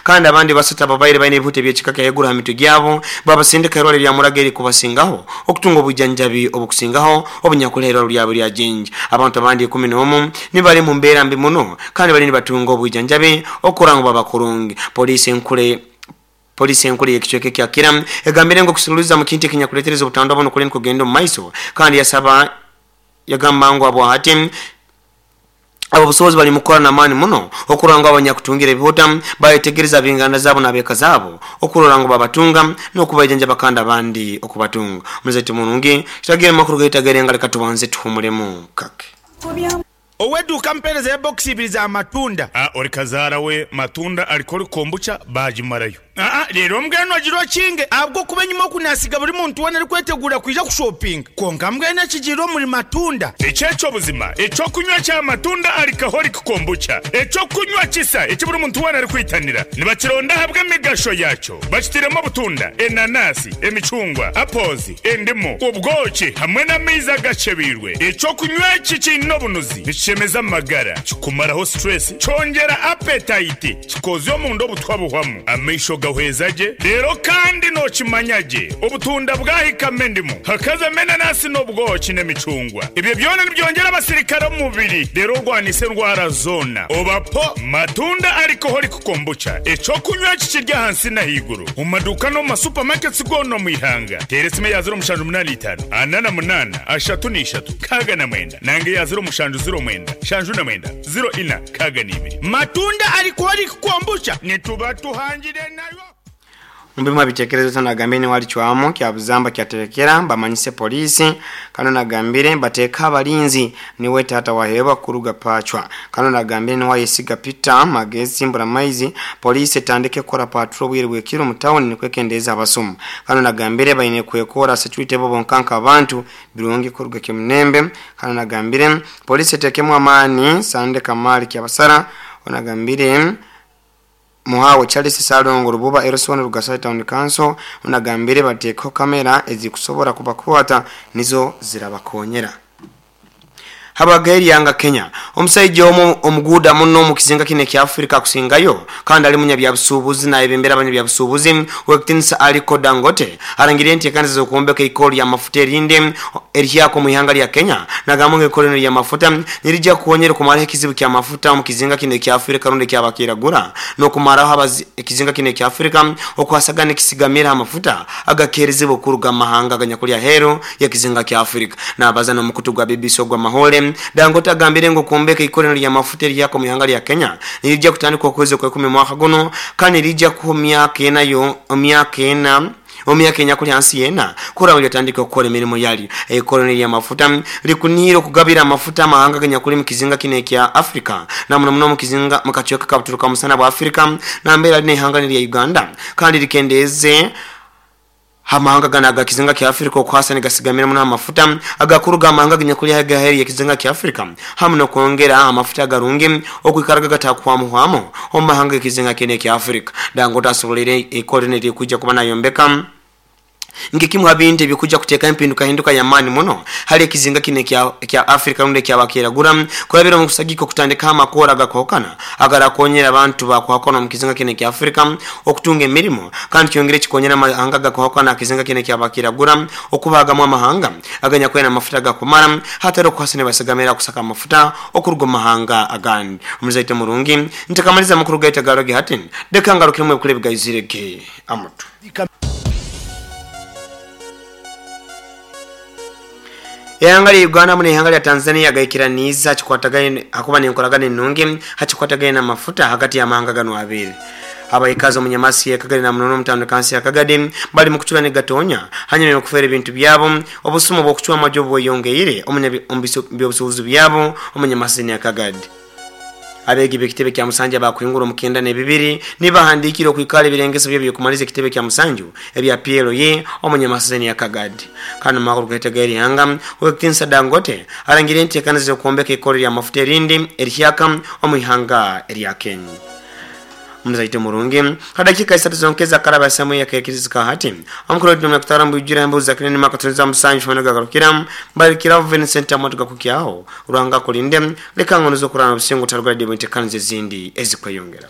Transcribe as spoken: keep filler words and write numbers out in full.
Kandi abandi basatu ababaire baine ebihuta eby'ekika kya haiguru ha mitwe gyabo babasindika irwaliro lya Muraga eri kubasingaho okutunga obujjanjabi obukusingaho obunyakula irwaliro lyabo lya Jinja. Abantu abandi ikumi n'omu nibali mu mbeera mbi muno kandi bali nibatunga obujjanjabi okukora ngu babakurungi. Poliisi enkule Polisi enkulu y'ekicweka kya Kira egambire ngu okusululiza mu kintu ekinyakuleetereza obutandwa buno kuli nikugenda omu maiso, kandi yasaba yagamba ngu abo hati abo obusobozi bali mukukora n'amaani muno okurora ngu abanyakutungira ebihuta bayetegereza ab'enganda zaabo n'abeeka zaabo okurora ngu babatunga n'okubaijanjaba kandi abandi okubatunga. Omuzaite murungi kitagire amakuru gaitagere nga leka tubanze tuhumulemu kake. Oweduka mpereza ya box ibiri za matunda. Ah, ori kazaara we matunda alikoli kombucha bagimarayo. Aa, leero mbwenu ogira okinge ahabw'okuba enyima okunasiga buri muntu weena arikwetegura kwija kushopinga konka mbwenu ekigiire omuri matunda. Eky'ekyobuzima ekyokunywa kya matunda alcoholic kombucha ekyokunywa kisa eki buri muntu weena arikwitanira nibakironda ahabw'emigasho yakyo bakitiremu obutunda, enanasi, emicungwa, apples, endimu, obwoki hamwe n'amaizi agacebeirwe. Ekyokunywa eki kiine obunuzi nikishemeza amagara, kikumaraho stress, kyongera appetite, kikozya omunda obutwa buhwamu, amaisho gahweza gye, leero kandi n'okimanya gye obutunda bwahikama endimu hakazamo enanasi n'obwoki n'emicungwa. Ebyo byona nibyongera abasirikare omu mubiri leero orwanise endwara zoona. Obapo matunda alcoholic kombucha ekyokunywa kikirya ahansi n'ahaiguru omu maduuka n'omu masupamaketi goona omu ihanga. Teera esimu eya ziro mushanju munaana itaano ana na munaana ashatu n'ishatu nkaaga na mwenda nange eya ziro mushanju ziro mwenda shanju na mwenda ziro ina nkaaga n'ibiri. Matunda alcoholic kombucha nituba tuhangire nayo. Mbimu abitekerezo tanagambire ni walichwamo kya buzamba kyaterekera bamanyise polisi kano nagambire bateka abalinzi niwe tata waheba kuruga pachwa kano nagambire ni wayesiga Peter Magezi mbura maizi polisi etandike kora patrol bwire bwekiro mu town nikwekendeza abasomo kano nagambire bayine kwekora security bo bonkanka abantu birungi kuruga kimnembe kano nagambire polisi etekemu amani Sande Kamali kyabasara onagambire Muhawe Charles Salongo Rububa Erosone Rugasai Town Council unagambire bateko kamera ezikusobora kubakwata nizo zirabakonyera. Habageri yanga Kenya omusajja omuguda muno mu kizinga kine kya Afrika kusingayo kandi ali munya bya busuubuzi na ebembera abanya bya busuubuzi Wektinsa Aliko Dangote arangiriye enteekaniza z'okwombeka ikoli ya mafuta erinde erihyako mu ihanga lya Kenya nagamba ikoli ya mafuta nirijja kuwonyera kumaraho ekizibu kya mafuta mu kizinga kine kya Afrika rundi kyabakiragura n'okumaraho ekizinga kine kya Afrika okwasagana ekisigamira amafuta agakeerezibwa okuruga mahanga aganyakulya hero ya kizinga kya Afrika n'abaza n'omukutu gwa B B C ogwa Mahole. Dangote agambire ngo kuombeka ikolero lya mafuta eriyako mu ihanga lya Kenya nirijja kutandika okwezi kwa ikumi mwaka guno kandi rijja ku myaka ena yo myaka ena omyaka enyakuli hansi yena kura walitandika okukora emirimu yali ekoloni lya mafuta likuniro kugabira amafuta amahanga ganyakuli mu kizinga kine kya Afrika na muno muno mu kizinga mu kacweka kabuturuka musana bwa Afrika na mbere ne ihanga lya Uganda kandi likendeze amahanga gana kizinga kya Afrika okwasa negasigamira muno amafuta agakuruga amahanga ganyakuli agaheri ya kizinga kya Afrika hamu no kwongera amafuta agarungi okwikaraga gatakwamuhwamo omahanga kizinga kene kya Afrika. Dangote asobolere ekoloni kujja kuba nayombeka ngekimu habindi bikuja kuteka empinduka hinduka ya mani muno hali ekizinga kine kya kya Afrika runde kya bakiragura kurabira mu kusagiko kutandika amakora agakokana agarakonyera abantu bakwakona mu kizinga kine kya Afrika okutunga emirimo kandi kyongere kikonyera amahanga agakokana kizinga kine kya bakiragura okubagamu amahanga aganya kwena amafuta gakumara hatari kwasine basigamira kusaka amafuta okuruga mahanga agandi. Omuzaite murungi ntakamaliza makuru gaita garoge hatin dekangarukiremwe kule bigayizireke amutu. Ihanga lya Uganda mune ihanga lya Tanzania gaikiraniza kikwatagane akuba nenkolagana ennungi hakikwatagane n'amafuta hagati y'amahanga gano abiri. Abaikazi omunyamasi yakagadi na munono mutano kansi yakagadi bali mukuchula ne gatonya hanyuma y'okufera ebintu byabo obusumu bw'okuchwa amajobu bweyongeire omunyabusuubuzi byabo omunyamasi yakagadi. Abegi b'ekitebe kya Musanja bakuhingura omukenda n'ebibiri nibahandikira okwikala ebirengeso bye byokumaliza ekitebe kya Musanju ebya P L E omunyamasazeni ya Kagadi. Kano makuru gaitega erihanga Wektinsa Dangote arangire enteekaniza z'okwombeka ikoli lya mafuta erindi erihyaka omu ihanga erya Kenya. Mzaite murungi kadakika isatu zonkeza karaba samu ya kekiriza hati omukuru w'eddembe kutarambu ijira embuza kinene makatunza musanju fana gagarukira mbalikira Vincent amotoka kukyaho uranga kulinde leka ngono zokurana busingo tarugadi enteekaniza ezindi ezikweyongera.